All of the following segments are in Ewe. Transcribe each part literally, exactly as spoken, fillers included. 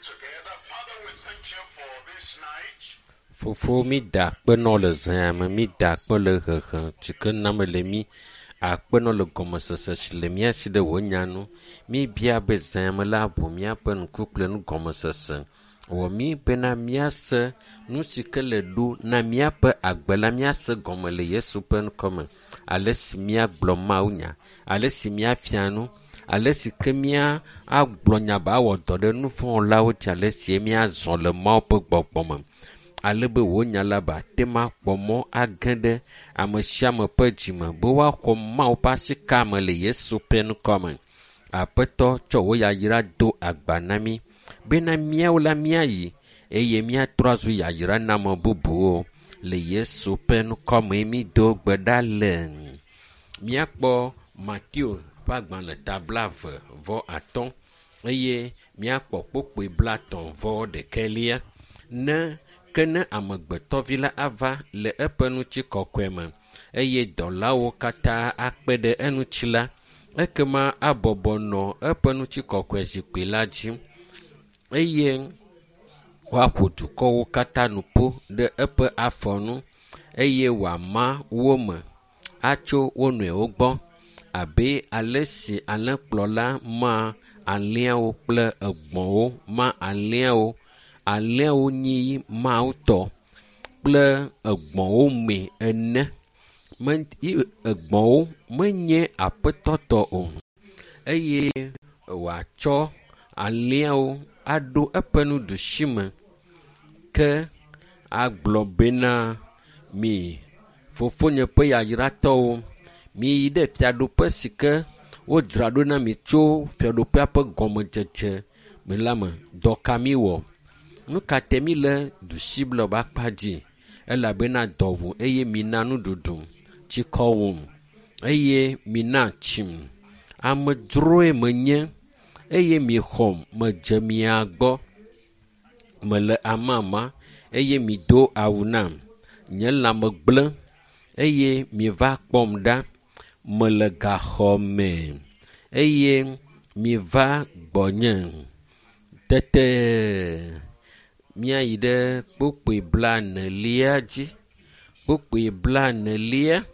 together. Father, we thank you for this night. Fofo mi da akpe nɔ le zã me, mi da akpe le hehe si ke name le mi, akpe nɔ le gɔmesese si le mía si ɖe wò nya nu. Mi bia be zã me la ʋu míaƒe ŋku kple nugɔmesese. Wɔ mí bena míase nu si ke le ɖo na míaƒe agbe la míase gɔme le Yesu ƒe ŋkɔme. Ale si míagblɔ Mawu nya, ale si míafia nu, ale si ke mía agblɔ nya ba awɔ dɔ ɖe nuvɔ̃wɔlawo dzi, ale si míazɔ le Mawu ƒe gbɔgbɔ me. Ale be wò nya la ba te ma kpɔ mɔ age ɖe ame sia ame ƒe dzime be woaxɔ Mawu ƒe asika me le Yesu ƒe ŋkɔme. Aƒetɔ tsɔ wò yayra do agba na mí bena míawo la míayi eye míatrɔ azu yayra na ame bubuwo le Yesu ƒe ŋkɔme mi do gbe ɖa le. Míakpɔ Mateo ƒe agbalẽ ta blaeve vɔ atɔ̃ eye míakpɔ kpukpui blaetɔ̃ vɔ ɖekɛlia. Ne ke ne amegbetɔvi la ava le eƒe ŋutikɔkɔe me eye dɔlawo katã akpe ɖe eŋuti la, ekema abɔbɔ nɔ eƒe ŋutikɔkɔe zikpui la dzi eye woaƒo dukɔwo katã nu ƒu ɖe eƒe afɔ nu eye wòama wo me atso wo nɔewo gbɔ abe ale si alẽkplɔla ma alẽawo kple egbɔ̃wo ma alẽawo alẽawo nyi Mawu tɔ kple egbɔ̃wo me ene. Me, egbɔ̃wo menye aƒetɔ tɔ o eye wòatsɔ alẽawo aɖo eƒe nuɖusi me ke agblɔ bena mi fofonye ƒe yayratɔwo miyi ɖe fiaɖuƒe si ke wodzra ɖo na mi tso fiaɖuƒea ƒe gɔmedzedze me la me. Dɔ ka mi wɔ? Nu ka te mi le ɖusi blɔ be akpa dzi? Elabena dɔ ʋu eye mina nuɖuɖu, tsikɔ wum eye mina tsim. Amedzroe menye eye mixɔm medze mia gbɔ. Mele amama eye mido awu nam. Nye lãme gblẽ eye miva kpɔm ɖa. Mele gaxɔ me eye miva gbɔnye. Tete míayi ɖe kpukpui blaenelia dzi. Kpukpui blaenelia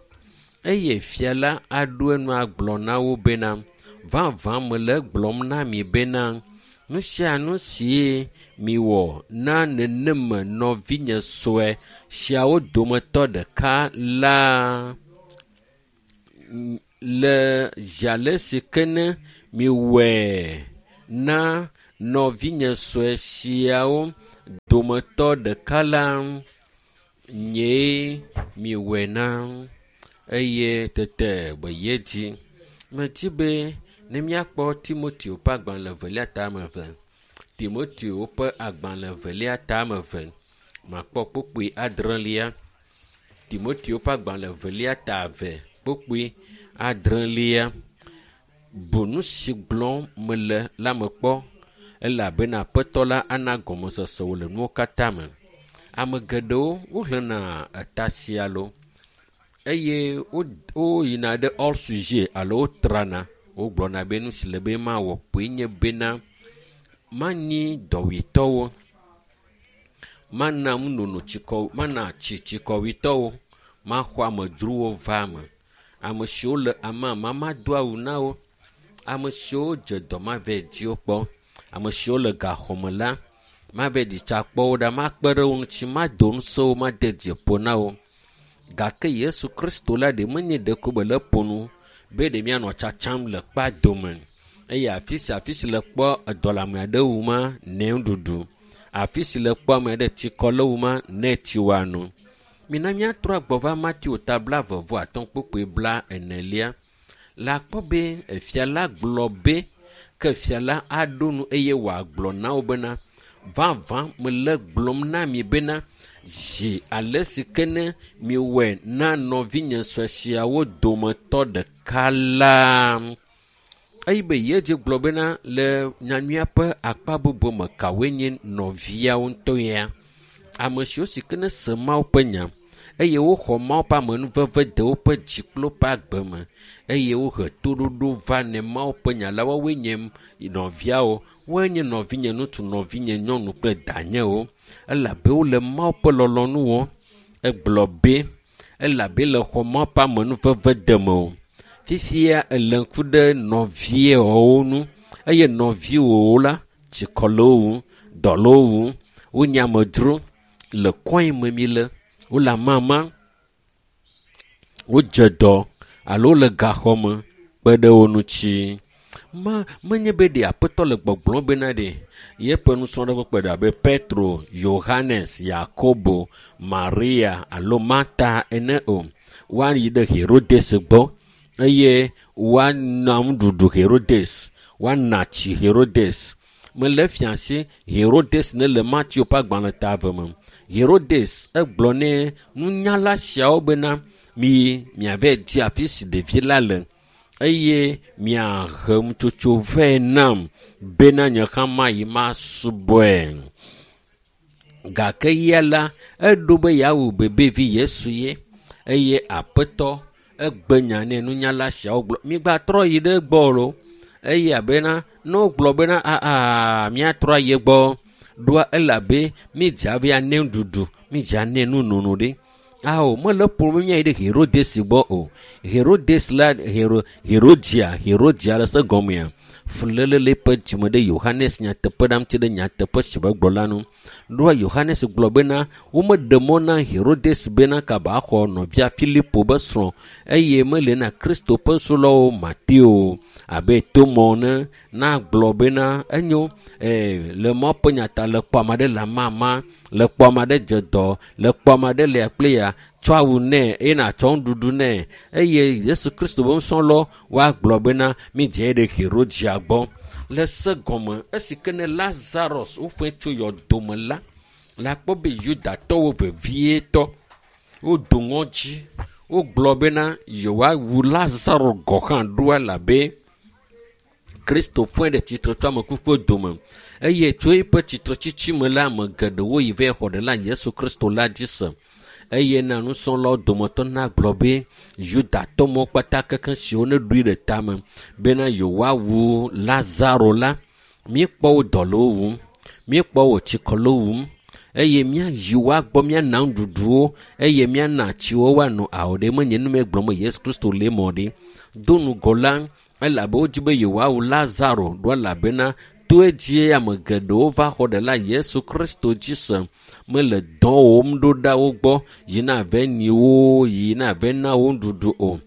eye fia la aɖo enu agblɔ na wo bena vavã mele egblɔm na mi bena nu sia nu si miwɔ na neneme nɔvinye sue siawo dometɔ ɖeka la le zi ale si ke ne miwɔe na nɔvinye sue siawo dometɔ ɖeka la nyee miwɔe na eye tete wòyi edzi. Medi be ne míakpɔ Timoteo ƒe agbalẽ evelia ta ame eve. Timoteo ƒe agbalẽ evelia ta ame eve. Makpɔ kpukpui adrelia. Timoteo ƒe agbalẽ evelia ta eve kpukpui adrelia. Bu nu si gblɔm mele la me kpɔ elabena Aƒetɔ la ana gɔmesese wò le nuwo katã me. Ame geɖewo woxlẽna eta sia lo eye woyina ɖe hors sujet alo wotrana. Wogblɔna be nu si le be mawɔ kpoe nye bena manyi dɔwuitɔwo, mana nunono tsikɔ, mana tsi tsikɔwuitɔwo, maxɔ amedzrowo va eme. Ame siwo le amama mado awu na wo. Ame siwo dze dɔ mavɛ di wo kpɔ. Ame siwo le gaxɔme la mavɛ ɖi tsa kpɔ wo ɖa, makpe ɖe wo ŋuti, mado ŋusẽ wo, made dzi ƒo na wo. Gake Yesu Kristo la ɖe menye ɖeko be le ƒo nu be ɖe míanɔ tsatsam le kpa dome eye afi sia afi si le kpɔ edɔ le ame aɖe wu ma nɛ nuɖuɖu. Afi si le kpɔ ame aɖe tsikɔ le wu ma nɛ tsi wòano. Mina míatrɔ agbɔ va Mateo ta blaeve vɔ atɔ̃ kpukpui bla enelia. Le akpɔ be efia la gblɔ be ke fia la aɖo nu eye wòagblɔ na wo bena vavã mele gblɔm na mi bena zi ale si ke ne miwɔe na nɔvinye sue siawo dometɔ ɖeka la. Eye be Yesu gblɔ bena le nyanyuia ƒe akpa bubu me kawoe nye nɔviawo ŋutɔ ya. Ame siwo si ke ne se Mawu ƒe nya eye woxɔ Mawu ƒe amenuveve de woƒe dzi kple woƒe agbe me eye wohe toɖoɖo va ne Mawu ƒe nya la. Woawoe nye nɔviawo, woawoe nye nɔvinye ŋutsu, nɔvinye nyɔnu kple danyewo elabe wole Mawu ƒe lɔlɔ̃nu wɔm. Egblɔ be elabe le xɔ Mawu ƒe amenuveve deme o. Fifia ele ŋku ɖe nɔviawo ŋu eye nɔviwòwo la tsikɔ le wo wum, dɔ le wo wum, wonye amedzro le kɔe me mi le, wole amama, wodze dɔ alo wole gaxɔ me kpe ɖe wo ŋuti. Ma menye be ɖe aƒetɔ le gbɔgblɔm bena ɖe yeƒe nusrɔ̃ɖe kpekpe ɖe abe Petro, Yohanes, Yakobo, Maria alo Marta ene o. Woayi ɖe Herodes gbɔ eye woana nuɖuɖu Herodes, woana tsi Herodes. Mele fia si Herodes ne le Mateo ƒe agbalẽ ta eve me. Herodes egblɔ ne nunyala siawo bena miyi miava di afi si ɖevi la le eye miahe nutsotso vɛ nam bena nye hã mayi masubɔe. Gake ya la, eɖo be yeawu bebevi Yesu ye eye aƒetɔ egbe nya nɛ nunyala siawo gblɔ migbatrɔ yi ɖe egbɔ o lo. Eye abena ne wogblɔ bena aa míatrɔ ayi egbɔ ɖoa elabe mídze abe ane nuɖuɖu, mídze ane nunono ɖe. Ao, mele ƒom be míayi ɖe Herodes gbɔ o. Herodes la, Hero, Herodia, Herodia le se gɔmea, fuléle le eƒe dzime ɖe Yohanes nyateƒe ɖa ŋuti ɖe nyateƒe si be gblɔ la nu. Ɖoa Yohanes gblɔ bena womeɖe mɔ na Herodes bena kaba axɔ nɔvia Filipo be srɔ̃ eye mele na Kristo ƒe nusrɔ̃lawo Mateo abe Tomɔ ne nagblɔ bena enyo ee le Mawu ƒe nya ta le kpɔ ame aɖe le amama, le kpɔ ame aɖe dze dɔ, le kpɔ ame aɖe le kple ya tsɔ awu nɛ eye nàtsɔ nuɖuɖu nɛ eye Yesu Kristo be nusrɔ̃lawo woagblɔ bena mídze ɖe Herodia gbɔ. Le se gɔme esi ke ne Lazarus wofɔe tso yɔdome la, la kpɔ be Yudatɔwo vevietɔ wodo ŋɔdzi wogblɔ bena yewoawu Lazaro gɔ̃ hã ɖo elabe Kristo fɔe ɖe tsitre tso ame kukuwo dome eye tso eƒe tsitretsitsi me la ame geɖewo yi va xɔ ɖe la Yesu Kristo la dzi se. Eye na nusrɔ̃lawo dometɔ nagblɔ be Yudatɔ mawo kpata kekeŋ siwo neɖoe ɖe tame bena yewoawu Lazaro la, míekpɔ wo dɔ le wo wum, míekpɔ wo tsikɔ le wo wum eye míayi woagbɔ míana nuɖuɖuwo eye míana tsiwo woano awo ɖe menye nu me gblɔm Yesu Kristo le mɔ ɖe. Do ŋgɔ la elabe wodzi be yewoawu Lazaro ɖo elabena to edzie ame geɖewo va xɔ ɖe la Yesu Kristo dzi se mele dɔ wɔm ɖo ɖa wo gbɔ yina ave nyi wo yina ave na wo nuɖuɖu o.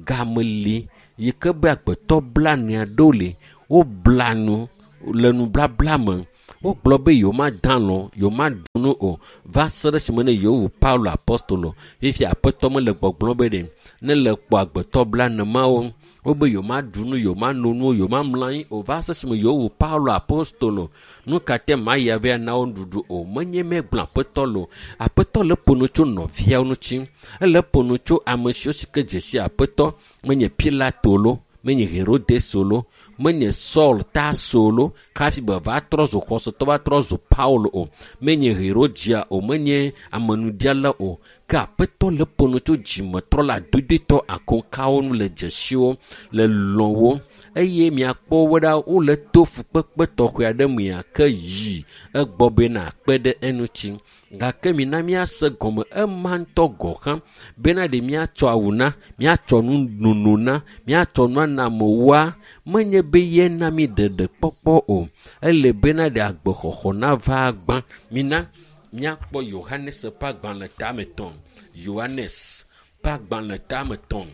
Game li yi ke be agbetɔ blane aɖewo li wobla nu le nublabla me. Wogblɔ be yewomada alɔ, yewomaɖu nu o va se ɖe esime ne yewowu Paulo apostolo. Fifia aƒetɔ mele gbɔgblɔm be ɖe ne le kpɔ agbetɔ blane mawo wobe yewomaɖu nu, yewomano nu, yewomamlɔ anyi o va se esime yewowu Paulo apostolo. Nu ka te mayi ava na wo nuɖuɖu o? Menye megblɔ aƒetɔ lo. Aƒetɔ le ƒo nu tso nɔviawo ŋuti. Ele ƒo nu tso ame siwo si ke dze si aƒetɔ. Menye Pilato lo, menye Herodes lo, menye Saul Tarso lo hafi be va trɔ zu xɔsetɔ va trɔ zu Paulo o. Menye Herodia o, menye amenuɖiala o. Ke aƒetɔ le ƒo nu tso dzimetrɔla dodoetɔ akokawo nu le dzesiwo le lɔ̃wo eye miakpɔ wo ɖa wole to fukpekpe tɔxɛ aɖe mea ke yi egbɔ bena akpe ɖe eŋuti. Gake mina míase gɔme ema ŋutɔ gɔ̃ hã bena ɖe míatsɔ awu na, míatsɔ nunono na, míatsɔ nu ana amewoa, menye be yena mí ɖeɖekpɔkpɔ o. Ele bena ɖe agbexɔxɔ nava gbã. Mina míakpɔ Yohanes ƒe agbalẽ tame etɔ̃. Yohanes ƒe agbalẽ tame etɔ̃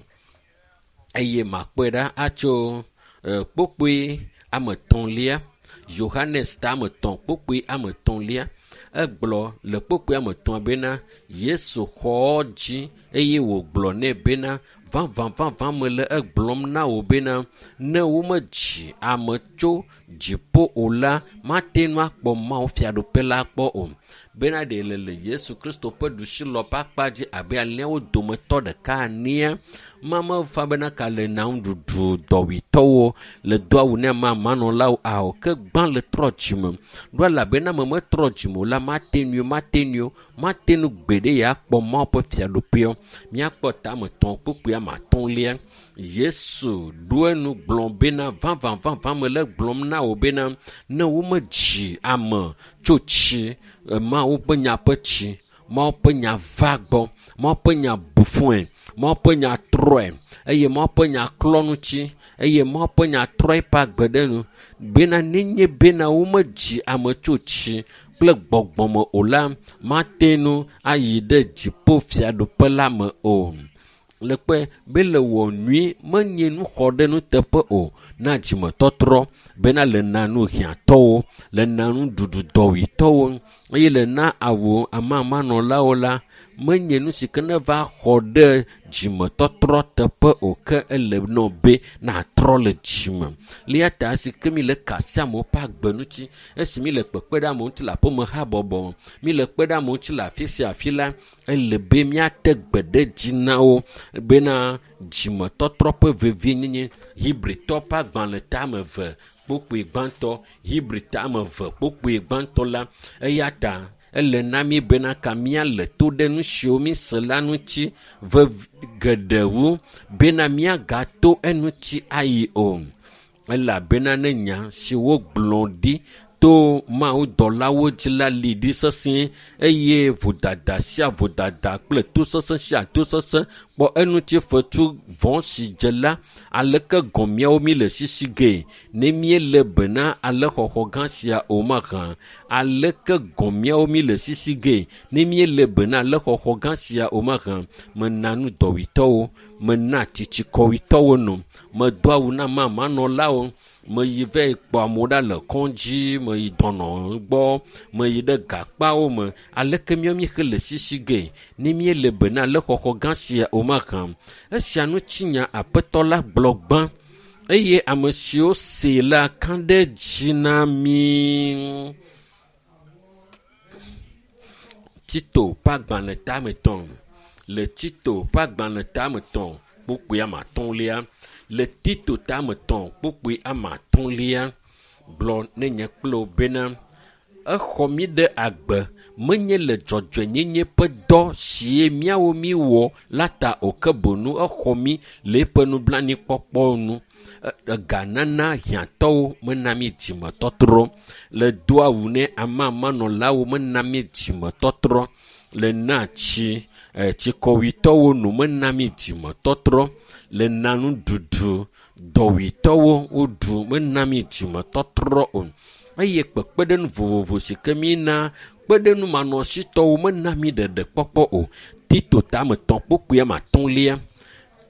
eye makpɔe ɖa atso kpokpoe ame etɔ̃lia. Yohanes tame etɔ̃ kpokpoe ame etɔ̃lia. Egblɔ le kpokpoe ame etɔ̃a bena Yesu xɔ dzi eye wògblɔ nɛ bena Vavã vavã mele egblɔm na wò bena ne womedzi ame tso dziƒo o la, mate ŋu akpɔ Mawu fiaɖuƒe la kpɔ o. Bena ɖe le le Yesu Kristo ƒe ɖusilɔ ƒe akpa dzi abe alẽawo dometɔ ɖeka enea, ma mefa bena ka le na nuɖuɖu dɔwuitɔwo le do awu ne amamanɔlawo ao ke gbã le trɔ dzime. Ɖo elabena ame metrɔ dzime o la, mate ŋui o, mate ŋui o, mate ŋu gbeɖe ya akpɔ Mawu ƒe fiaɖuƒea. Míakpɔ tame etɔ̃ kpukpui ame atɔ̃lia. Yesu ɖo enu gblɔ bena vavã vavã mele gblɔm na wò bena ne womedzi ame tso tsi, Mawu ƒe nya ƒe tsi, Mawu ƒe nya va gbɔ, Mawu ƒe nya bu fɔe, Mawu ƒe nya trɔe, eye Mawu ƒe nya klɔ ŋuti, eye Mawu ƒe nya trɔ eƒe agbe ɖe nu. Bena nenye bena womedzi ame tso tsi kple gbɔgbɔme o la, mate ŋu ayi ɖe dziƒo fiaɖuƒe la me o. Le kpe be le wɔ nyui menye nu xɔ ɖe nuteƒe o na dzimetɔtrɔ bena le na nu hiãtɔwo, le na nuɖuɖu dɔwuitɔwo eye le na awu amamanɔlawo la, menye nu si ke ne va xɔ ɖe dzimetɔtrɔ teƒe o ke ele nɔ be natrɔ le dzime. Le ya ta si ke mi le ka asi amewo ƒe agbe ŋuti, esi mi le kpekpe ɖe amewo ŋuti le aƒeme habɔbɔ, mi le kpe ɖe amewo ŋuti le afi sia afi la, ele be míate gbe ɖe dzi na wo bena dzimetɔtrɔ ƒe vevienyenye. Hebritɔ ƒe agbalẽ tame eve kpukpui gbãtɔ, Hebri tame eve kpukpui gbãtɔ la, eya ta ele na mí bena ka míale to ɖe nu siwo míse la ŋuti vevi geɖe wu bena míagato eŋuti ayi o. Elabena ne nya si wogblɔ ɖi to mawudɔlawo dzi la li ɖi sesĩe eye vodada sia vodada kple tosesẽ sia tosesẽ kpɔ eŋuti fetu vɔ̃ si dze la, aleke gɔ̃ míawo mí le sisi gee ne míele be na alẽxɔxɔ gã sia o mahã? Aleke gɔ̃ míawo mí le sisi gee ne míele be na alẽxɔxɔ gã sia o mahã? Mena nu dɔwuitɔwo, mena tsitsikɔwuitɔwo no, medo awu na mamanɔlawo, meyi va yi kpɔ amewo ɖa le kɔdzi, meyi dɔnɔ gbɔ, meyi ɖe gakpawo me. Aleke míawo míexe le sisi gee ne míele be na alẽxɔxɔ gã sia o mahã? Esia ŋutinya Aƒetɔ la gblɔ gbã eye ame siwo see la ka ɖe dzi na mí. Tito ƒe agbalẽ tame etɔ̃. Le Tito ƒe agbalẽ tame etɔ̃ kpukpui ame atɔ̃lia. Le Tito tame etɔ̃ kpukpui ame atɔ̃lia gblɔ ne nye kple wò bena exɔ mí ɖe agbe menye le dzɔdzɔenyenye ƒe dɔ si míawo míwɔ la ta o ke boŋ exɔ mí le eƒe nublanuikpɔkpɔ nu. Eganana hiãtɔwo mena mí dzimetɔtrɔ. Le do awu ne amamanɔlawo mena mí dzimetɔtrɔ. Le na tsi tsikɔwuitɔwo no mena mí dzimetɔtrɔ. Le na nuɖuɖu dɔwuitɔwo woɖu mena mí dzimetɔtrɔ o. Eye kpekpeɖeŋu vovovo si ke mína kpeɖeŋumanɔsitɔwo mena mí ɖeɖekpɔkpɔ o. Tito tame etɔ̃ kpukpui ame atɔ̃lia.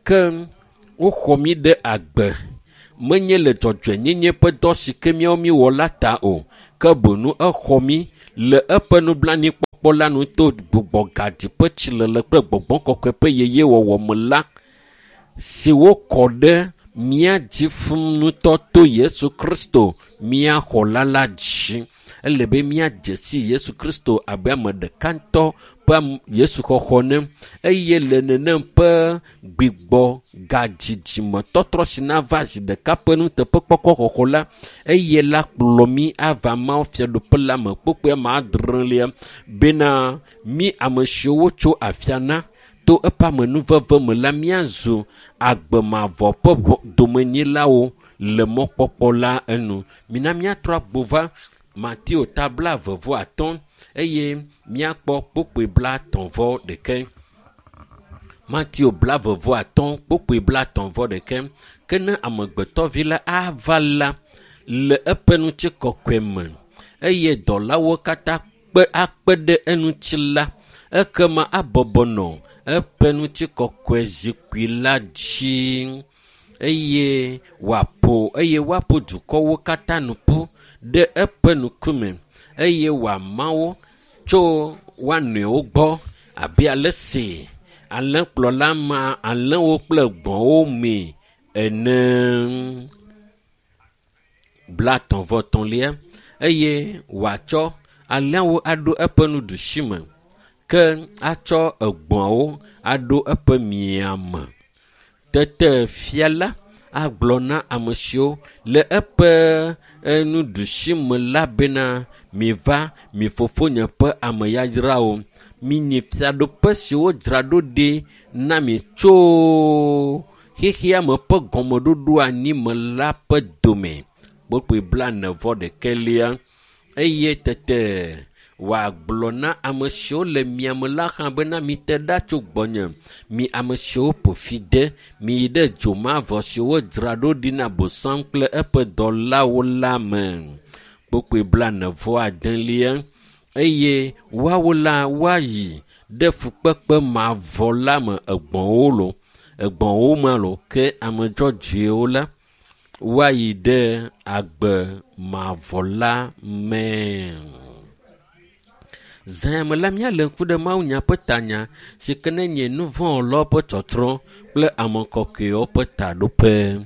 Ke woxɔ mí ɖe agbe menye le dzɔdzɔenyenye ƒe dɔ si ke míawo míwɔ la ta o ke boŋ exɔ mí le eƒe nublanuikpɔkpɔ la nu to gbugbɔgaɖi ƒe tsilele kple gbɔgbɔ kɔkɔe ƒe yeyewɔwɔ me la si wokɔ ɖe mía dzi fũu ŋutɔ to Yesu Kristo mía xɔla la dzi. Ele be míadze si Yesu Kristo abe ame ɖeka ŋutɔ ƒe Yesu xɔxɔ ne eye le nenem ƒe gbigbɔ gadzidzimetɔtrɔ si nava zi ɖeka ƒe nuteƒekpɔkpɔ xɔxɔ la, eye la kplɔ mí ava Mawu fiaɖuƒe la me kpukpui ame adrelia bena mí ame siwo wotso afia na to eƒe amenuveve me la míazu agbe mavɔ ƒe domenyilawo le mɔkpɔkpɔ la enu. Mina míatrɔ agbo va Mateo ta blaeve vɔ atɔ̃ eye míakpɔ kpukpui blaetɔ̃ vɔ ɖeke. Mateo blaeve vɔ atɔ̃ kpukpui blaetɔ̃ vɔ ɖeke. Ke ne amegbetɔvi la ava la le eƒe ŋutikɔkɔe me eye dɔlawo katã kpe akpe ɖe eŋuti la, ekema abɔbɔ nɔ eƒe ŋutikɔkɔe zikpui la dzi eye wòaƒo eye woaƒo dukɔwo katã nu ƒu ɖe eƒe ŋkume eye wòama wo tso woa nɔewo gbɔ abe ale si Alẽkplɔla ma alẽwo kple gbɔ̃wo me ene. Blatɔ̃ vɔ etɔ̃lia eye wòatsɔ alẽawo aɖo eƒe nuɖusi me ke atsɔ egbɔ̃awo aɖo eƒe miame. Tete fia la agblɔ na ame siwo le eƒe nuɖusi me la bena miva mi fofonye ƒe ame yayrawo minyi fiaɖoƒe si wodzra ɖo ɖi na mi tso xexea me ƒe gɔmeɖoɖo anyi me la ƒe dome. Kpokpoe blaene vɔ ɖekɛlia eye tete wòagblɔ na ame siwo le miame la hã bena mite ɖa tso gbɔnye mi ame siwo ƒo fi de miyi ɖe dzomavɔ si wodzra ɖo ɖi na bosam kple eƒe dɔlawo la me. Kpokpoe blaene vɔ adelia eye woawo la woayi ɖe fukpekpe mavɔ la me egbɔ̃wo lo egbɔ̃wo me lo ke ame dzɔdzɔewo la woayi ɖe agbe mavɔ la me. Zãme la míalé ŋku ɖe mawunya ƒe tanya si ke ne nye nuvɔ̃wɔlawo ƒe tsɔtsrɔ̃ kple ame kɔkɔewo ƒe taɖoƒe.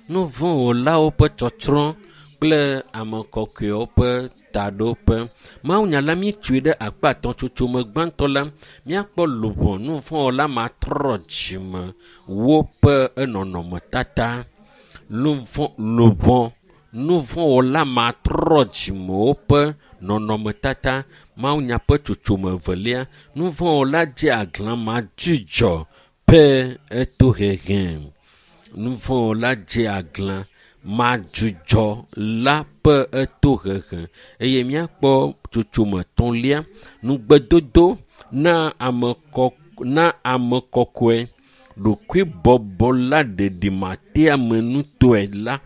Nuvɔ̃wɔlawo ƒe tsɔtsrɔ̃ kple ame kɔkɔewo ƒe taɖoƒe. Mawunya la míetsoe ɖe akpa etɔ̃ tsotsome gbãtɔ la míakpɔ luʋɔ nuvɔ̃wɔla matrɔ dzime woƒe enɔnɔmetata. Luʋɔ luʋɔ nuvɔ̃wɔla matrɔ dzimewo ƒe nɔnɔmetata. Mawunya ƒe tsotsome evelia nuvɔ̃wɔla dze aglã madzudzɔ ƒe etohehe. Nuvɔ̃wɔla dze aglã madzudzɔ la ƒe etohehe eye míakpɔ tsotsome etɔ̃lia nugbedodo na ame kɔ na ame kɔkɔe ɖokuibɔbɔla ɖeɖimateamenutɔe la.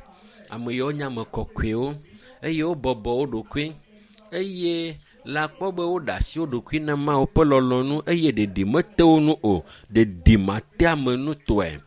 Ame yiwo nye ame kɔkɔewo eye wobɔbɔ wo ɖokui eye le akpɔ be woɖe asi wo ɖokui na Mawu ƒe lɔlɔ̃nu eye ɖeɖi mete wo ŋu o. Ɖeɖimateamenutɔe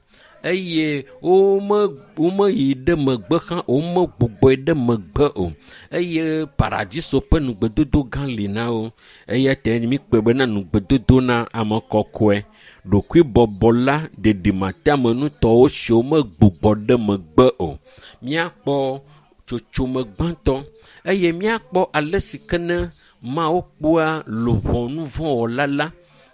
eye wome womeyi ɖe megbe hã womegbugbɔe ɖe megbe o eye paradiso ƒe nugbedodo gã li na wo eya ta míkpɔe bena nugbedodo na ame kɔkɔe ɖokuibɔbɔla ɖeɖimateamenutɔwo siwo megbugbɔ ɖe megbe o. Míakpɔ tsotsome gbãtɔ eye míakpɔ ale si ke ne Mawu kpɔa luʋɔ nuvɔ̃wɔla la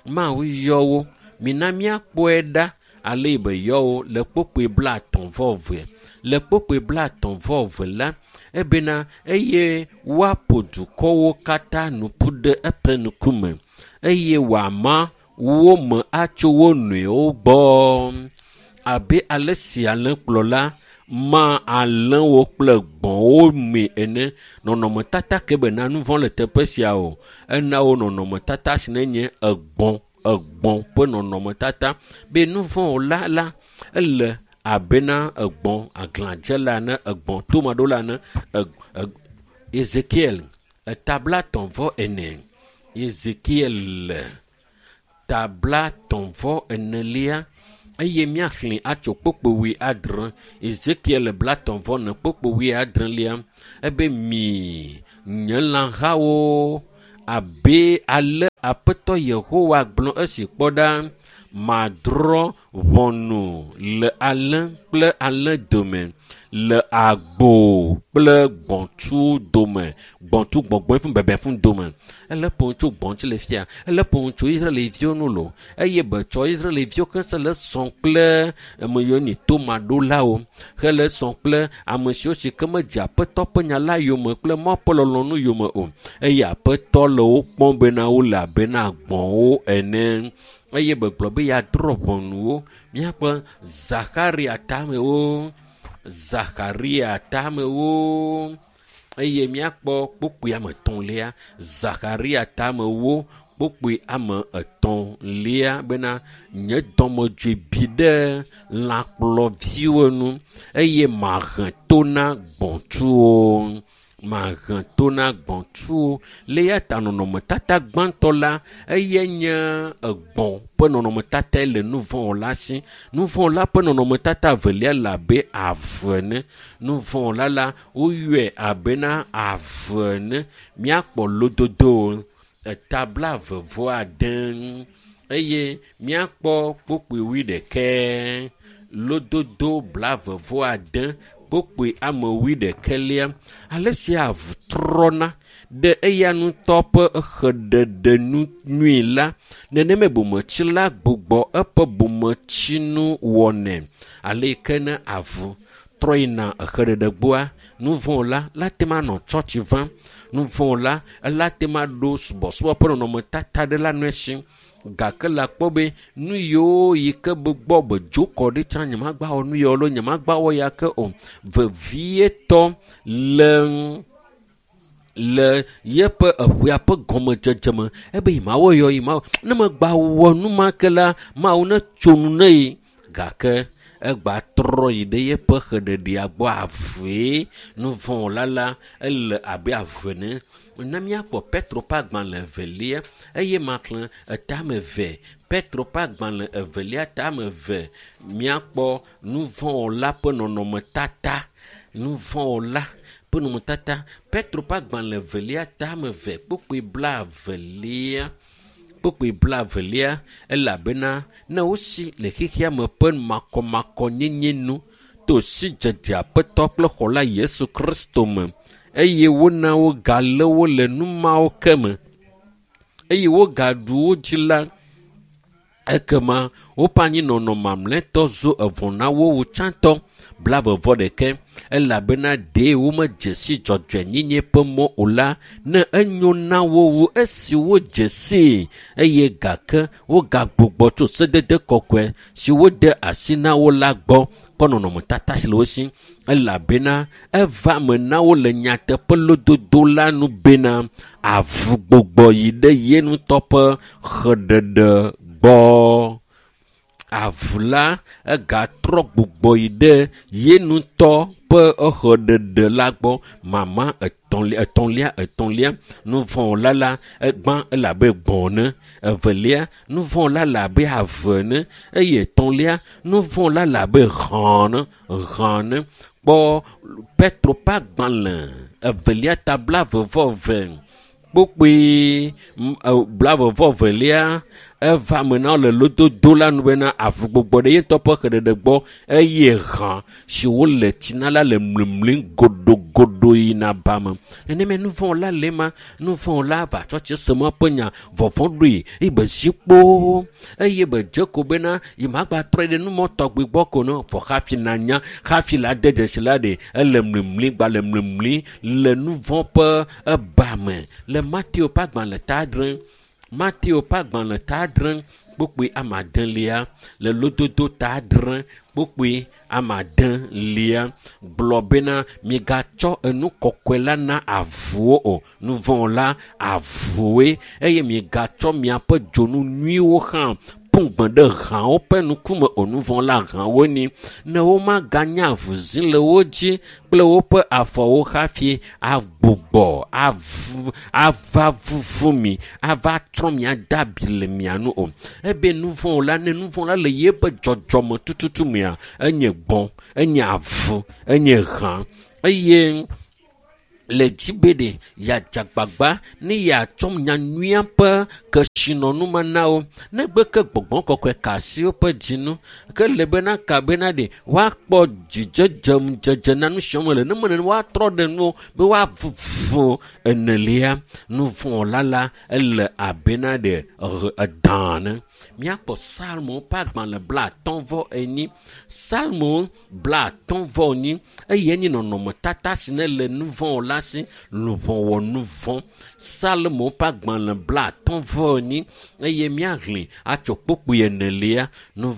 Mawu yɔ wo. Mina míakpɔe ɖa ale yi be yɔ wo le kpokpoe blaetɔ̃ vɔ eve. Le kpokpoe blaetɔ̃ vɔ eve la ebena eye woaƒo dukɔwo katã nu ƒu ɖe eƒe ŋkume eye wòama wo me atso wo nɔewo gbɔ abe ale si alẽkplɔla ma alẽwo kple gbɔ̃wo me ene. Nɔnɔmetata ke bena nuvɔ̃ le teƒe sia o. Ena wo nɔnɔmetata si ne nye egbɔ̃ egbɔ̃ ƒe nɔnɔmetata be nuvɔ̃wɔla la ele abena egbɔ̃ aglãdzela ene egbɔ̃ tomaɖola ene eg eg Ezekiel etablatɔ̃ vɔ ene. Ezekiel tablatɔ̃ vɔ enelia eye míaxlẽ atso kpokpo wui adre. Ezekiel blatɔ̃ vɔ ene kpokpo wui adrelia ebe mi nye lãhawo abe ale Aƒetɔ Yehowa gblɔ esi kpɔ ɖa madrɔ̃ ʋɔnu le alẽ kple alẽ dome le agbo kple gbɔ̃tsu dome gbɔ̃tsu gbɔgbɔe fún bɛbɛ fún dome. Ele ƒo tso gbɔ̃tsu le fia ele ƒo tso Israelviwo nu lo eye betsɔ Israelviwo ke se le sɔ̃ kple ame yiwo nyi tomaɖolawo hele sɔ̃ kple ame siwo si ke medze Aƒetɔ ƒe nya la yome kple Mawu ƒe lɔlɔ̃nu yome o eye Aƒetɔ le wo kpɔm bena wole abena gbɔ̃wo ene eye begblɔ be yeadrɔ̃ ʋɔnuwo. Míakpɔ Zakaria tamewo Zakaria tamewo eye míakpɔ kpokpoe ame etɔ̃lia Zakaria tamewo kpokpoe ame etɔ̃lia bena nye dɔmedzoe bi ɖe lãkplɔviwo nu eye mahe to na gbɔ̃tsuwo. Mahe to na gbɔ̃tsuwo. Le eya ta nɔnɔmetata gbãtɔ la eye nye egbɔ̃ ƒe nɔnɔmetata le nuvɔ̃wɔla si. Nuvɔ̃wɔla ƒe nɔnɔmetata evelia le abe ave ene. Nuvɔ̃wɔla la woyɔe abena ave ene. Míakpɔ lododo eta blaeve vɔ ade. eye míakpɔ kpokpoe wuiɖekɛ lododo blaeve-vɔ-ade kpokpoe ame wuiɖekɛlia ale si avu trɔna ɖe eya ŋutɔ ƒe xeɖeɖe nu nyui la nenema bometsila gbugbɔ eƒe bometsinu wɔnɛ ale yi ke ne avu trɔ yina exeɖeɖe gbɔa nu vɔ̃ la la te ma nɔ tsɔtsi vam nu vɔ̃ la ela te ma ɖo subɔsubɔ ƒe nɔnɔmetata ɖe la nɔe si gake le akpɔ be nu yiwo yi ke be gbɔ be dzo kɔ ɖi tsã nyemagba wɔ nu yawo alo nyemagba wɔ ya ke o vevietɔ le le yeƒe eƒea ƒe gɔmedzedze me ebe yi mawɔ yɔ yi mawɔ ne megba wɔ nu ma ke la mawu ne tso nu ne yi gake egba trɔ yi ɖe yeƒe xeɖeɖea gbɔ avue nu vɔ̃ la la ele abe avu ene na míakpɔ Petro ƒe agbalẽ evelia eye maxlẽ etame eve Petro ƒe agbalẽ evelia tame eve míakpɔ nu vɔ̃ la ƒe nɔnɔmetata nu vɔ̃ la ƒe nɔnɔmetata Petro ƒe agbalẽ evelia tame eve kpokpoe blaevelia kpokpoe blaevelia elabena ne wosi le xexea me ƒe makɔmakɔnyenye nu to sidzedze Aƒetɔ kple Xɔla Yesu Kristo me eye wona wogalé wo le nu mawo ke me eye wogaɖu wo dzi la ekema woƒe anyinɔnɔ mamlɛtɔ zu evɔ̃ na wo wu tsãtɔ blaeve-vɔ-ɖekɛ elabena ɖee womedze si dzɔdzɔenyenye ƒe mɔ o la ne enyo na wo wu esi wodze sii eye gake wogagbugbɔ tso sedede kɔkɔe si wode asi na wo la gbɔ kpɔ nɔnɔmetata si le wo si elabena eva me na wo le nyateƒe lododo la nu bena avu gbugbɔ yi ɖe ye ŋutɔ ƒe xeɖeɖe gbɔ. Avu la egatrɔ gbugbɔ yi ɖe ye ŋutɔ ƒe exɔɖeɖe la gbɔ mama etɔ̃lia etɔ̃lia etɔ̃lia nu vɔ̃ la la egbã ele abe gbɔ̃ ene evelia nu vɔ̃ la le abe ave ene eye etɔ̃lia nu vɔ̃ la le abe hã ene hã ene kpɔ Petro ƒe agbalẽ evelia ta blaeve-vɔ-eve kpokpoe blaeve-vɔ-evelia eva me na wo le lododo la nu bena avu gbugbɔ ɖe ye ŋutɔ ƒe xeɖeɖe gbɔ eye hã si wole tsi na la le mlimlim godogodo yina ba me. Nenema nu vɔ̃ la le ema nu vɔ̃ la va tsɔtsi se ma ƒe nya vɔvɔ̃ ɖoe eye be zi kpoo eye be dze ko bena yi magba trɔ ɖe numɔ tɔgbi gbɔ ko ne vɔ hafi nanya hafi la de dzesi la ɖe ele mlimlim gba le mlimlim le nu vɔ̃ ƒe eba me le Mateo ƒe agbalẽ ta adre Mateo ƒe agbalẽ ta adre kpokpoe ame adelia le lododo ta adre kpokpoe ame adelia gblɔ bena migatsɔ enu kɔkɔe la na avuwo o nu vɔ̃ la avuwoe eye migatsɔ miaƒe dzonu nyuiwo hã ƒu gbe ɖe hãwo ƒe ŋkume o nu vɔ̃ la hãwo ni ne womaganya avuzi le wo dzi kple woƒe afɔwo hafi agbugbɔ avu ava vuvu mi ava trɔ mia de abi le mia nu o ebe nu vɔ̃ la ne nu vɔ̃ la le yeƒe dzɔdzɔme tututu mea enye gbɔ̃ enye avu enye hã eye le dzi be ɖe yeadze agbagba ne yeatsɔ nyanyuia ƒe kesinɔnu ma na wo negbe ke gbɔgbɔ kɔkɔe ka asi woƒe dzi nu ke le bena ka bena ɖe woakpɔ dzidzedze ŋudzedze na nu siwo me le ne me nene woatrɔ ɖe nuwo be woavuvu enelia nu vɔ̃ la la ele abe na ɖe edã ene. Míakpɔ Salmo ƒe agbalẽ blaatɔ̃ vɔ enyi Salmo blaatɔ̃ vɔ enyi eye enye nɔnɔmetata si ne le nu vɔ̃ la si luʋɔ wɔ nu vɔ̃ Salmo ƒe agbalẽ blaatɔ̃ vɔ enyi eye míahlẽ atso kpokpoe enelia nu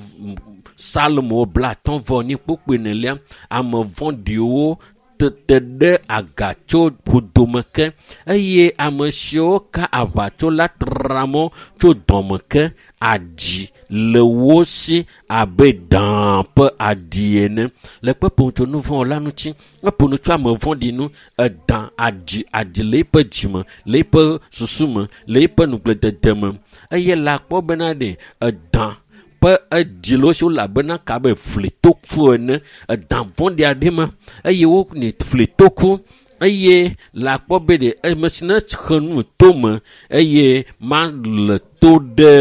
Salmo blaatɔ̃ vɔ enyi kpokpoe enelia ame vɔ̃ɖiwo tete ɖe aga tso ƒodome ke eye ame siwo ka aʋatso la tra mɔ tso dɔme ke aɖi le wo si abe dã ƒe aɖi ene le kpeƒo tso nu vɔ̃ la ŋuti eƒo nu tso ame vɔ̃ɖi nu edã aɖi aɖi le eƒe dzime le eƒe susu me le eƒe nugbledede me eye le akpɔ bena ɖe edã ƒe eɖi le wo si wole abena ka abe flitoku ene edã vɔ̃ɖi aɖe ma eye wone flitoku Eye le akpɔ be ɖe ame si ne xe nu tome eye ma le to ɖe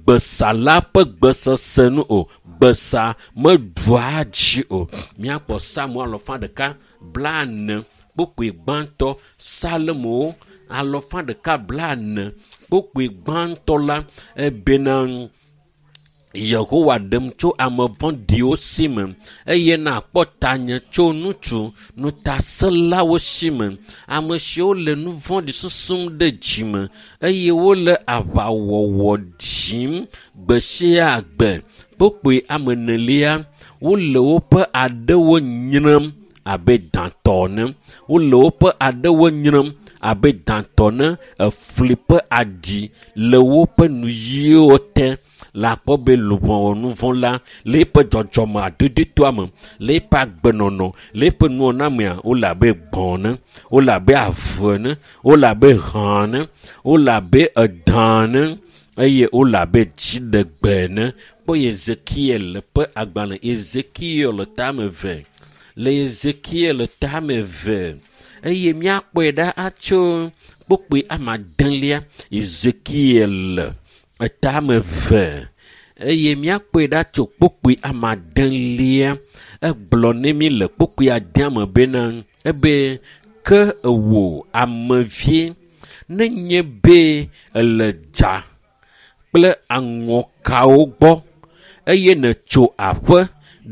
gbesala ƒe gbesese nu o. Gbesa meɖua dzi o. Míakpɔ Psalmo alɔfa ɖeka blaene kpukpui gbãtɔ. Psalmo alɔfa ɖeka blaene kpukpui gbãtɔ la ebena Yehowa ɖem tso ame vɔ̃ɖiwo si me eye nakpɔ tanye tso ŋutsu ŋutasẽlawo si me. Ame siwo le nu vɔ̃ɖi susum ɖe dzime eye wole aʋawɔwɔ dzim gbe sia gbe. Kpukpui ame enelia, wole woƒe aɖewo nyrem abe dãtɔ ene. Wole woƒe aɖewo nyrem abe dãtɔ ene. Efli ƒe aɖi le woƒe nuyiwo te. Le akpɔ be luʋɔ nuvɔ̃ la le eƒe dzɔdzɔme adodotoa me, le eƒe agbenɔnɔ, le eƒe nuwɔnamea, wole abe gbɔ̃ ene, wole abe ave ene, wole abe hã ene, wole abe edã ene eye wole abe dziɖegbe ene. Kpɔ Ezekiel ƒe agbalẽ, Ezekiel tame eve. Le Ezekiel tame eve eye míakpɔe ɖa atso kpukpui ame adelia. Ezekiel etame eve eye míakpɔe ɖa tso kpukpui ame adelia. Egblɔ ne mí le kpukpui adea me bena ebe ke ewò amevie nenye be ele dza kple aŋɔkawo gbɔ eye nètso aƒe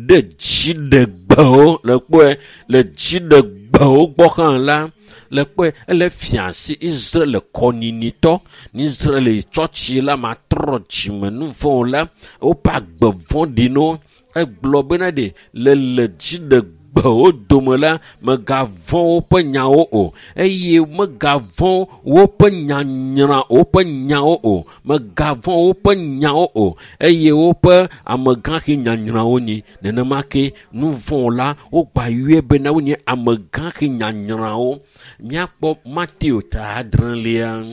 ɖe dziɖegbewo le kpɔe le dziɖegbewo gbɔ hã la le kpɔe ele fia si Israel kɔninitɔ Israel tsɔtsi la matrɔ dzime nu vɔ̃ la woƒe agbe vɔ̃ɖi no. Egblɔ bena ɖe le le dziɖegbewo dome la megavɔ̃ woƒe nyawo o eye megavɔ̃ woƒe nyanyra woƒe nyawo o megavɔ̃ woƒe nyawo o eye woƒe amegãxi nyanyrawo nyi. Nenema ke nu vɔ̃ la wogba yɔe bena wonye amegãxi nyanyrawo. Míakpɔ Mateo ta adrelia,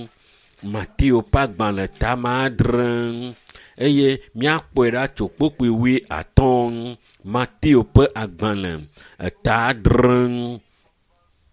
Mateo ƒe agbalẽ ta adre eye míakpɔe ɖa tso kpukpui wui atɔ̃. Mateo ƒe agbalẽ ta adre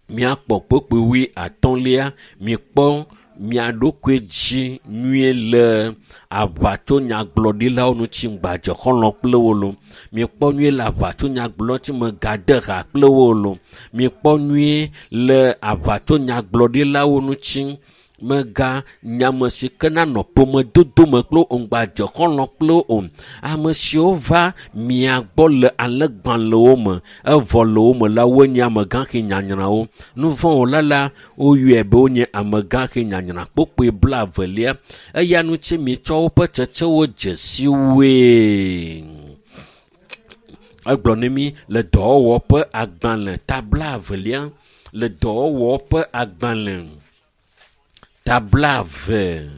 míakpɔ kpukpui wui atɔ̃lia. Mikpɔ mia ɖokui dzi nyuie le aʋatsonyagblɔɖilawo ŋuti ŋgbadze xɔlɔ̃ kple wo lo. Mikpɔ nyuie le aʋatsonyagblɔɖi megade ha kple wo lo. Mikpɔ nyuie le aʋatsonyagblɔɖilawo ŋuti mega nyame si ke nanɔ ƒomedodo me kple wo ŋgbadze xɔlɔ̃ kple wo o. Ame siwo va mia gbɔ le alẽgbalẽwo me evɔ le wo me la wonye amegãxi nyanyrawo. Nu vɔ̃ wɔla la woyɔe be wonye amegãxi nyanyra. Kpukpui blaevelia eya ŋuti mitsɔ woƒe tsetsewo dze si woe. Egblɔ ne mí le dɔwɔwɔ ƒe agbalẽ ta blaevelia, le dɔwɔwɔ ƒe agbalẽ ta blaeve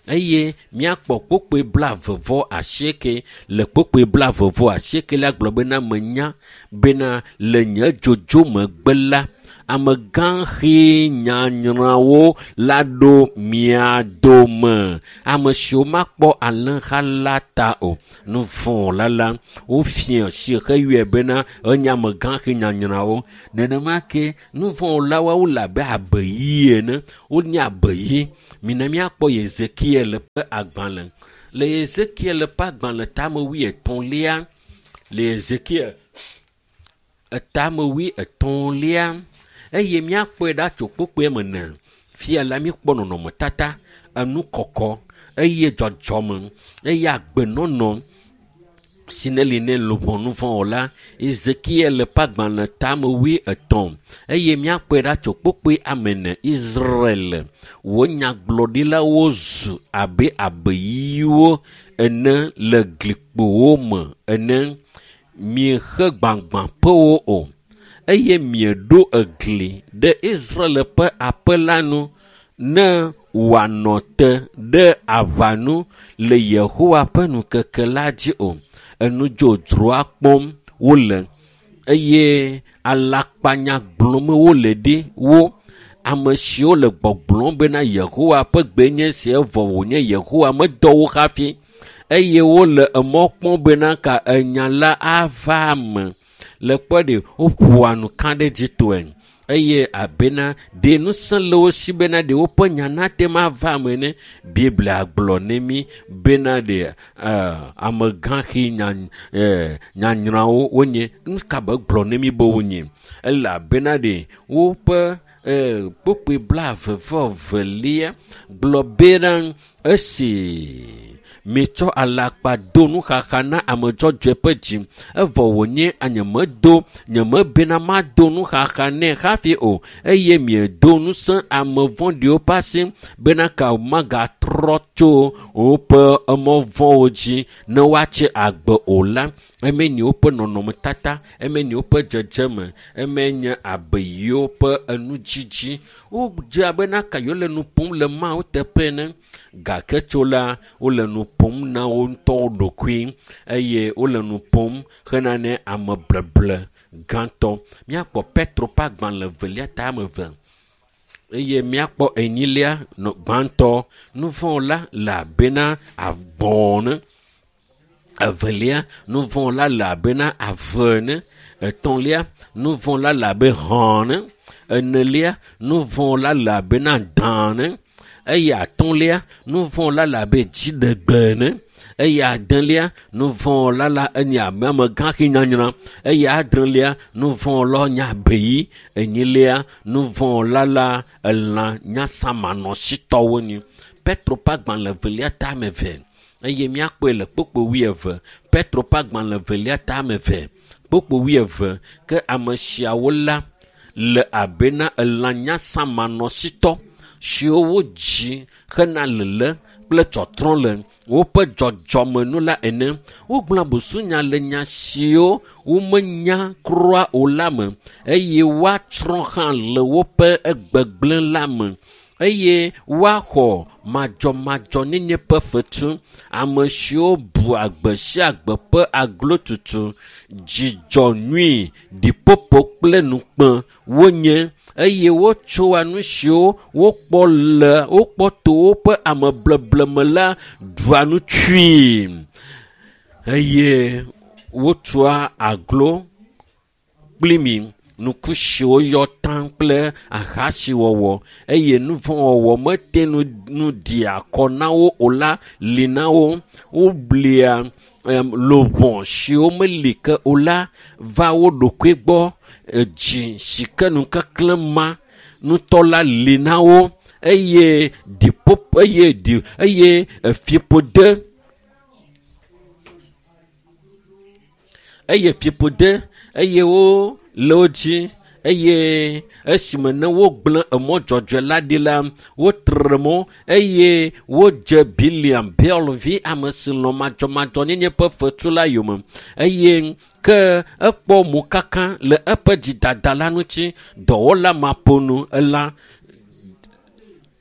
eye míakpɔ kpukpui blaeve vɔ asieke. Le kpukpui blaeve vɔ asieke la gblɔ bena menya bena le nye dzodzo megbe la amegãxi nyanyrawo la ɖo mia dome. Ame siwo makpɔ alẽha la ta o. Nu vɔ̃ la la wofia si heyɔe bena enye amegãxi nyanyrawo. Nenema ke nu vɔ̃ la woawo le abe abeyi ene. Wonye abeyi. Mina míakpɔ Ezekiel ƒe agbalẽ. Le Ezekiel ƒe agbalẽ tame wuietɔ̃lia, le Ezekiel etame wuietɔ̃lia eye míakpɔe ɖa tso kpukpui me ne. Fia la míkpɔ nɔnɔmetata, enu kɔkɔ eye dzɔdzɔme eye agbenɔnɔ si ne li ne luʋɔ nu vɔ̃ o la. Ezekiel ƒe agbalẽ tame wuietɔ̃ eye míakpɔe ɖa tso kpukpui ame ene. Israel wò nyagblɔɖilawo zu abe abeyiwo ene le glikpowo me ene. Miexe gbagbãƒewo o eye mieɖo egli ɖe Israel ƒe aƒe la nu ne wòanɔ te ɖe aʋa nu le Yehowa ƒe ŋkeke la dzi o. Enu dzodzroa kpɔm wole eye alakpanya gblɔm wole ɖi wo. Ame siwo le gbɔgblɔm bena Yehowa ƒe gbe nye esi evɔ wònye Yehowa medɔ wo hafi eye wole emɔ kpɔm bena ka enya la ava eme. Le kpɔ ɖe woƒoa nu ka ɖe dzi tɔe Eye abena ɖe ŋusẽ le wo si bena ɖe woƒe nya nate ma va eme ne Biblia gblɔ ne mi bena ɖe amegãxi nya nyanyrawo wonye. Nu ka be gblɔ ne mi be wonye? Elabena ɖe woƒe kpukpui blaeve vɔ velia gblɔ bena esi mitsɔ alakpa do nuxaxa na ame dzɔdzɔe ƒe dzi, evɔ wònye nyemedo nyemebena mado nuxaxa nɛ hafi o, eye miedo ŋusẽ ame vɔ̃ɖiwo ƒe asi bena ka magatrɔ tso woƒe emɔ vɔ̃wo dzi ne woatsi agbe o la. Eme nye woƒe nɔnɔmetata, eme nye woƒe dzedzeme, eme nye abeyiwo ƒe enudzidzi. Wodze abe naka yewo le nu ƒom le Mawu teƒe ene, gake tso la wole nu ƒom na wo ŋutɔwo ɖokui eye wole nu ƒom hena ne ame bleble gãtɔ. Míakpɔ Petro ƒe agbalẽ evelia ta ame eve eye míakpɔ enyilia nɔ gbãtɔ. Nu vɔ̃ la le abena agbɔ̃ ene, evelia nu vɔ̃ la le abena ave ene, etɔ̃lia nu vɔ̃ la le abe hɔ̃ ene, enelia nu vɔ̃ la le abena dã ene, eye atɔ̃lia nu vɔ̃ la le abe dziɖegbe ene, eye adelia nu vɔ̃ la la enye abe amegãxi nyanyra, eye adrelia nu vɔ̃ la nye abeyi, enyilia nu vɔ̃ la la elã nyasamanɔsitɔwo nyi. Petro ƒe agbalẽ evelia ta ame eve eye míakpɔe le kpukpui wuieve. Petro ƒe agbalẽ evelia ta ame eve kpukpui wuieve. Ke ame siawo la le abena elã nyasamanɔsitɔ siwo wodzi hena lele kple tsɔtrɔ le woƒe dzɔdzɔmenu la ene. Wogblɔa busunya le nya siwo womenya kura o la me eye woatsrɔ̃ hã le woƒe egbegblẽ la me eye woaxɔ madzɔmadzɔnyenye ƒe fetu. Ame siwo bu agbe sia agbe ƒe aglotutu, dzidzɔ nyui, ɖiƒoƒo kple nukpe wonye eye wotsoa nu siwo wokpɔ le wokpɔ to woƒe amebleble me la ɖua nu tsui eye wotua aglo kpli mi. Nuku siwo yɔ taŋ kple ahasiwɔwɔ eye nu vɔ̃ wɔwɔ mete nu nu ɖi akɔ na wo o la li na wo. Woblia luʋɔ siwo meli ke o la va wo ɖokui gbɔ. Dzi si ke nukeklẽ ma ŋutɔ la li na wo eye ɖiƒoƒo eye ɖi eye fiƒode eye fiƒode eye wo le wo dzi eye esime ne wogblẽ emɔ dzɔdzɔe la ɖi la, wotre mɔ eye wodze Biliam Beor vi ame si lɔ̃ madzɔmadzɔnyenye ƒe fetu la yome eye ke ekpɔ mokaka le eƒe dzidada la ŋuti. Dɔwɔla maƒonu elã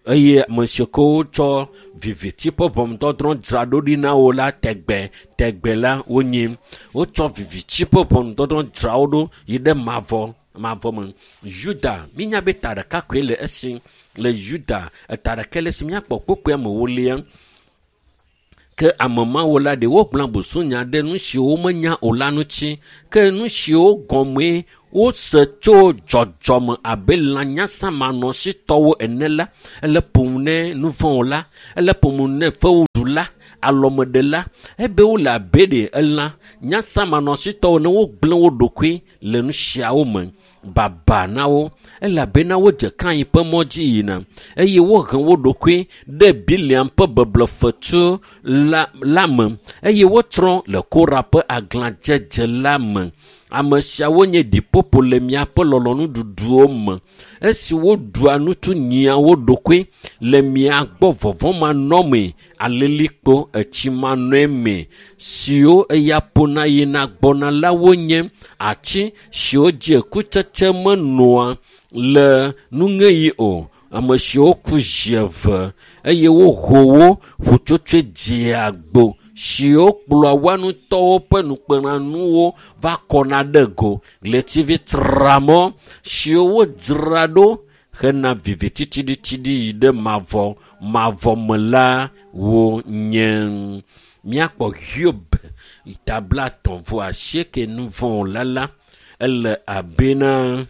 eye ame siwo ke wotsɔ viviti ƒe ʋɔnudɔdrɔ̃ dzra ɖo ɖi na wo la tegbe tegbe la wonyi. Wotsɔ viviti ƒe ʋɔnudɔdrɔ̃ dzra wo ɖo yi ɖe mavɔ mavɔ me. Yuda, mínya be ta ɖeka koe le esi le Yuda, eta ɖeka le esi míakpɔ kpukpui amewolia. Ke ame mawo la ɖe wogblɔa busunya ɖe nu siwo womenya o la ŋuti. Ke nu siwo gɔmee wose tso dzɔdzɔme abe lã nyasamanɔsitɔwo ene la, ele ƒom ne nu vɔ̃ la, ele ƒom ne fewuɖula, alɔmeɖela, ebe wole abe ɖe elã nyasamanɔsitɔwo ne wogblẽ wo ɖokui le nu siawo me. Baba na wo, elabena wodze Kain ƒe mɔ dzi yina eye wohe wo ɖokui ɖe Biliam ƒe beblefetu la, la me eye wotsrɔ̃ le Kora ƒe aglãdzedze la me. Ame siawo nye ɖiƒoƒo le miaƒe lɔlɔ̃nuɖuɖuwo me. Esi woɖua nutu nyia wo ɖokui le mia gbɔ vɔvɔ̃manɔmee, alilikpo etsimanɔe siwo eya ƒona yina gbɔna la wonye ati siwo dzi kutsetse menɔa le nuŋeɣi o. Ame siwo ku zi eve eye woho wo ƒutsotsoe dzea gbo siwo kplɔa woa ŋutɔwo ƒe nukpenanuwo va kɔna ɖe go. Ɣletivi tramɔ siwo wodzra ɖo hena viviti tsiɖitsiɖi yi ɖe mavɔ mavɔ me la wonye. Míakpɔ Hiob ta blaetɔ̃ vɔ asieke nu vɔ̃ la la ele abena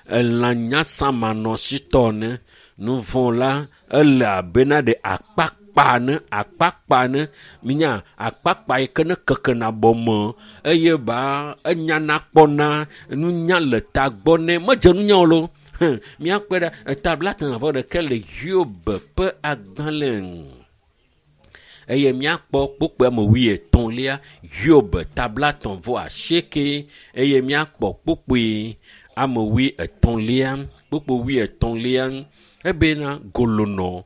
elãnyasamanɔsitɔ ne nuvɔ̃ la ele abena ɖe akpakpa ne akpakpa ne minya akpakpa yi ke ne kekena bɔme eye ba enyana kpɔna nunya le tagbɔ ne medze nunya o lo. Míakpɔe ɖa etabla etɔ̃ vɔ ɖeke le Hiob ƒe agbalẽ eye míakpɔ kpukpui ame wuietɔ̃lia Hiob tabla etɔ̃ vɔ asieke eye míakpɔ kpukpui ame wuietɔ̃lia kpukpui wuietɔ̃lia ebena golonɔ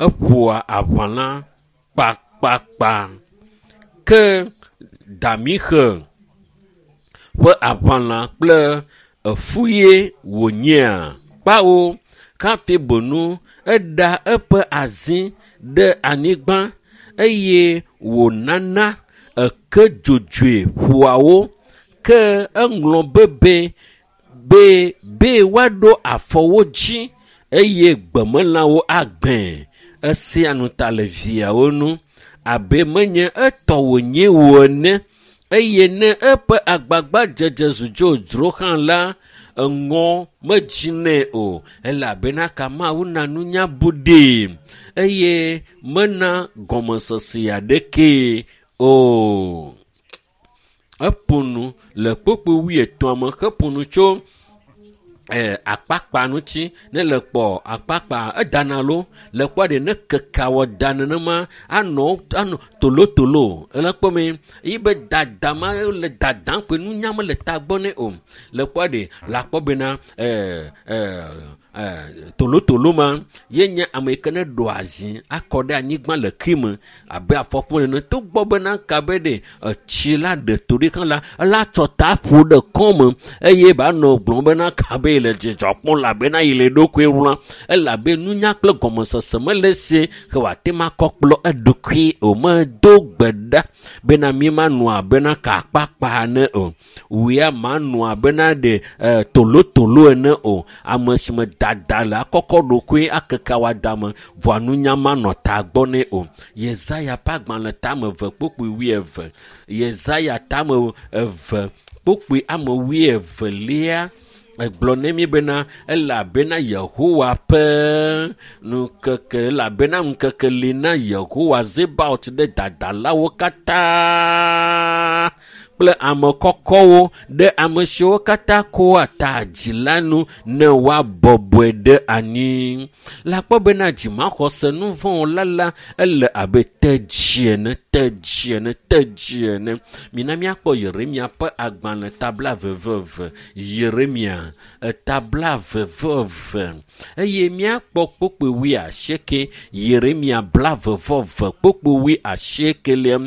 eƒoa aʋalã kpakpakpa ke damixe ƒe aʋalã kple efuye wònyea kpawo kafi bonu eɖa eƒe azi ɖe anyigba eye wònana eke dzodzoe ƒoawo ke eŋlɔ bebe be be woaɖo afɔwo dzi eye gbemelãwo agbẽ esea nu ta le viawo nu abe menye etɔ wònye wo ene eye ne eƒe agbagbadzedze zu dzodzro hã la eŋɔ medzinɛ o elabena ka Mawu na nunya bu ɖee eye mena gɔmesese aɖekee o. Eƒo nu le kpukpui wuietɔ̃a me heƒo nu tso eh, akpakpa ŋuti ne le kpɔ akpakpa edana lo le kpɔ ɖe ne keke wɔ da nenema anɔ anɔ tolotolo ele kpɔ me yi be dada ma le dadam kpe nunya mele tagbɔ nɛ o le kpɔ ɖe le akpɔ bena eh, eh, eh, tolotolo ma ye nye ame yi ke ne ɖo azi akɔ ɖe anyigba le kri me abe afɔkpo ene togbɔ bena ka be ɖe etsi la ɖe to ɖi hã la ela tsɔ ta ƒo ɖe kɔme eye ba nɔ gblɔm bena ka be le dzidzɔ kpɔm elabena yi le eɖokui wlam elabe nunya kple gɔmesese mele esi ke wòate ŋu akɔ kplɔ eɖokui o medo gbe ɖa bena mi manɔ abena ka akpakpa ene o wòya manɔ abena ɖe eh, tolotolo ene o ame si me dada le akɔkɔ ɖokui akeke awada me vɔa nunya manɔ tagbɔ nɛ o. Yesaya ƒe agbalẽ tame eve kpukpui wuieve Yesaya tame eve kpukpui ame wuievelia egblɔ ne mi bena elabena Yehowa ƒe ŋkeke elabena ŋkeke li na Yehowa Zebaot ɖe dadalawo katã kple ame kɔkɔwo ɖe ame siwo katã koa ta dzi la nu ne woabɔbɔe ɖe anyi. Le akpɔ bena dzimaxɔse nuvɔ̃wɔla la ele abe tedzi ene tedzi ene tedzi ene. Mina míakpɔ Yeremia ƒe agbalẽ tabla veveve Yeremia etabla veveve eye míakpɔ kpukpui wuiasieke Yeremia bla veveve kpukpui wuiasiekelia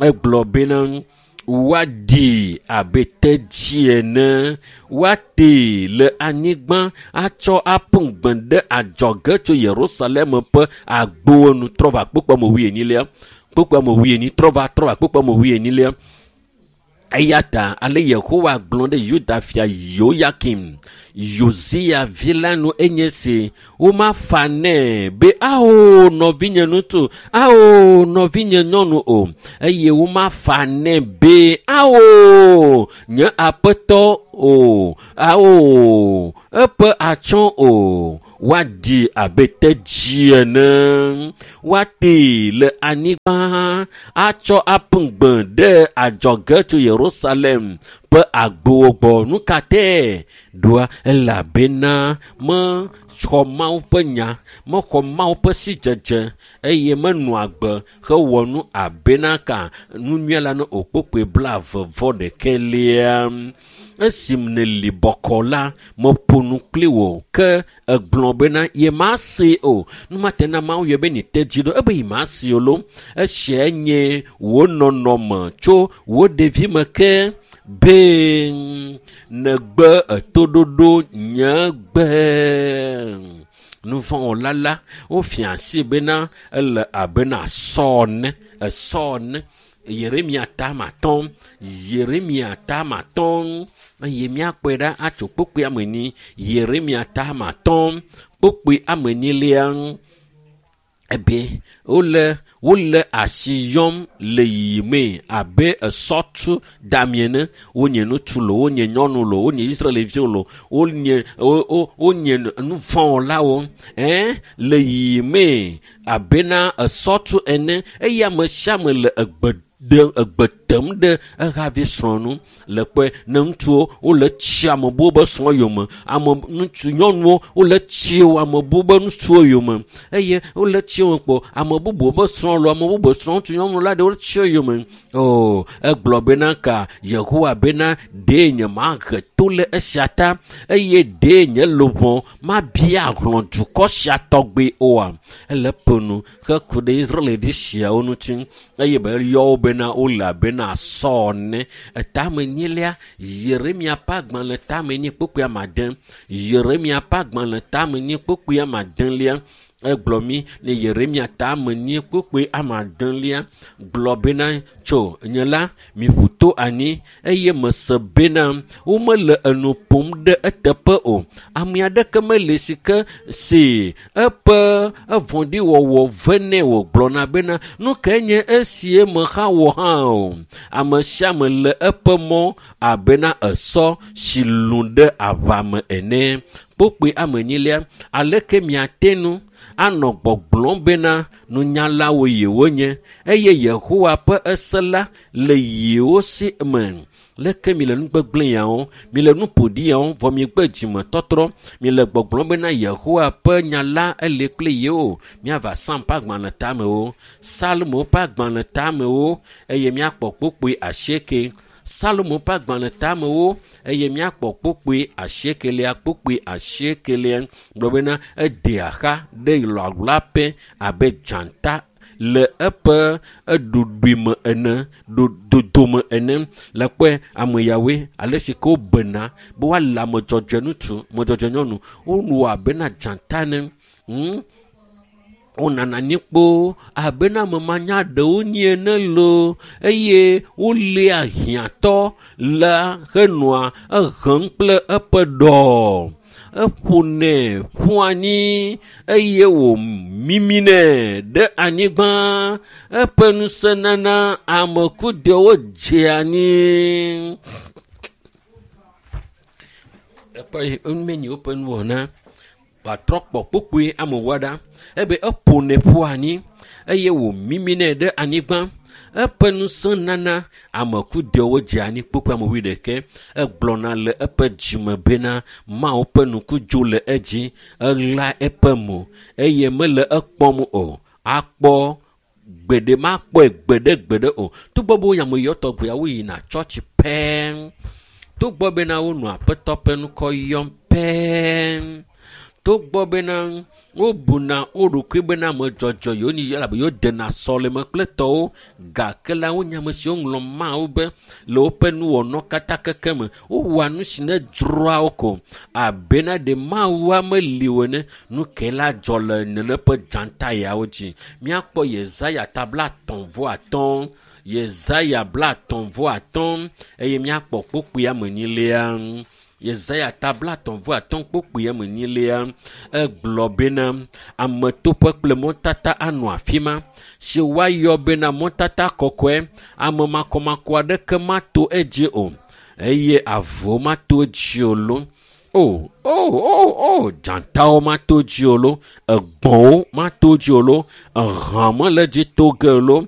egblɔ bena woaɖi abe tedzi ene woatee le anyigba atsɔ aƒu gbe ɖe adzɔge tso Yerusalem ƒe agbowo nu trɔ va kpukpui ame wuienyilia kpukpui ame wuienyi trɔ va trɔ va kpukpui ame wuienyilia eya ta ale Yehowa gblɔ ɖe Yuda fia Yoyakim Yosia vi la nu enye si womafa nɛ be ao nɔvinye ŋutsu ao nɔvinye nyɔnu o eye womafa nɛ be ao nye aƒetɔ o ao eƒe atsyɔ̃ o woaɖi abe tedzi ene woatee le anyigba atsɔ aƒu gbe ɖe adzɔge tso Yerusalem ƒe agbowo gbɔ. Nu ka tae ɖoa? Elabena mexɔ Mawu ƒe nya, mexɔ Mawu ƒe sidzedze eye menɔ agbe hewɔ nu abena ka nu nyui la ne o kpukpui blaeve vɔ ɖekɛlia. Esi nèli bɔkɔ la, meƒo nu kpli wò ke egblɔ bena yemasee o. Numate na Mawu yɔ be nete dzi ɖo ebe yemasee o lo. Esia nye wò nɔnɔme tso wò ɖevime ke be negbe etoɖoɖo nye gbe. Nuvɔ̃wɔla la wofia asi bena ele abena sɔ ene esɔ ene. Yeremia tame atɔ̃ Yeremia tame atɔ̃ eye míakpɔe ɖa atso kpukpui ame enyi Yeremia tame atɔ̃ kpukpui ame enyilia ebe wole Wole asi yɔm le yiyimee abe esɔtu dami ene. Wonye ŋutsu lo, wonye nyɔnu lo, wonye Israelviwo lo, wonye wo wo wonye nuvɔ̃wɔlawo ɛn le yiyimee abena esɔtu ene eye ame sia ame le egbe ɖe egbe tem ɖe ehavi srɔ̃ nu le kpɔe ne ŋutsuwo wole tsi ame buwo be srɔ̃ yome ame ŋutsu nyɔnuwo wole tsi ame buwo be ŋutsuwo yome eye wole tsi wo kpɔ ame bubuwo be srɔ̃ lo ame bubu srɔ̃ ŋutsu nyɔnu la ɖe wole tsi wo yome o egblɔ bena ka yehowa bena ɖe nye mahe to le esia ta eye ɖe nye luʋɔ mabia hlɔ̃ dukɔ sia tɔgbe oa ele ƒo nu heku ɖe israelvi siawo ŋuti eye be yɔ wo bena wole abena sɔ ene etame nyilia yeremia ƒe agbalẽ tame nyi kpukpui amade yeremia ƒe agbalẽ tame nyi kpukpui amadelia egblɔ mi le yeremia tame nyi kpukpui amadelia gblɔ bena tso nye la miƒu to anyi eye mese bena womele enu ƒom ɖe eteƒe o ame aɖeke mele si ke si eƒe evɔ̃ɖiwɔwɔ venɛ wògblɔna bena nu kae nye esie mexa wɔ hã o ame sia ame le eƒe mɔ abena esɔ si lũ ɖe aʋa me ene kpokpoe ame enyilia aleke miate nu anɔ gbɔgblɔm bena nunyalawo yewonye eye yehowa ƒe ese la le yewo si me leke mi le nu gbegblẽ yawo mi le nu ƒoɖi yawo vɔ mi gbe dzimetɔtrɔ mi le gbɔgblɔm bena yehowa ƒe nya la ele kple yewo miava sam ƒe agbalẽ tamewo salomo ƒe agbalẽ tamewo eye miakpɔ kpokpoe asieke salomo ƒe agbalẽ tamewo eye miakpɔ kpokpoe asiekelia kpokpoe asiekelia gblɔ bena edea xa ɖe lɔlɔaƒe abe dzata le eƒe eɖoɖoe me ene ɖo dodome ene le kpɔe ame yawoe ale si ke wobena be woale ame dzɔdzɔe ŋutsu ame dzɔdzɔe nyɔnu wowɔ abena dzata ene hm wonana anyi kpoo abena ame manya ɖewo nyi ene loo eye woléa hiãtɔ la henɔa ehem kple eƒe ɖɔ eƒonɛ ƒu anyi eye wòmiminɛ ɖe anyigba eƒe ŋusẽ nana ame kudewo dze anyi ekpɔ enumenyi woƒe nuwɔna wòatrɔ kpɔ kpokpoe amewoa ɖa ebe eƒonɛ ƒu anyi eye wòmiminɛ ɖe anyigba eƒe ŋusẽ nana ame kudewo dze anyi kpokpoe ame wuiɖekɛ egblɔna le eƒe dzime bena mawu ƒe ŋku dzo le edzi eɣla eƒe mo eye mele ekpɔm o akpɔ gbeɖe makpɔe gbeɖe gbeɖe o togbɔ be wonya ame yɔ tɔgbeawo yina tsɔtsi pɛɛ togbɔ bena wonɔ aƒetɔ ƒe ŋkɔ yɔm pɛɛ togbɔ bena wobuna wo ɖokui bena ame dzɔdzɔ yewo nyi elabe yewo dena sɔleme kple tɔwo gake la wonye ame siwo ŋlɔ mawu be le woƒe nuwɔnɔ katã keke me wowɔa nu si ne dzroa wo ko abena ɖe mawua meli o ene nu ke la dzɔ le nene ƒe dzata yawo dzi míakpɔ yesaya ta bla atɔ̃ vɔ atɔ̃ yesaya bla atɔ̃ vɔ atɔ̃ eye míakpɔ kpokpoe ame enyilia yesaya ta bla atɔ̃ vɔ atɔ̃ kpokpoe ame enyilia egblɔ bena ametoƒe kple mɔtata anɔ afi ma si woayɔ bena mɔtata kɔkɔe ame makɔmakɔ aɖeke mato edzi o eye avuwo mato edzi o lo o o o o dzatawo mato dzi o lo egbɔ̃wo mato dzi o lo ehã mele dzi to ge o lo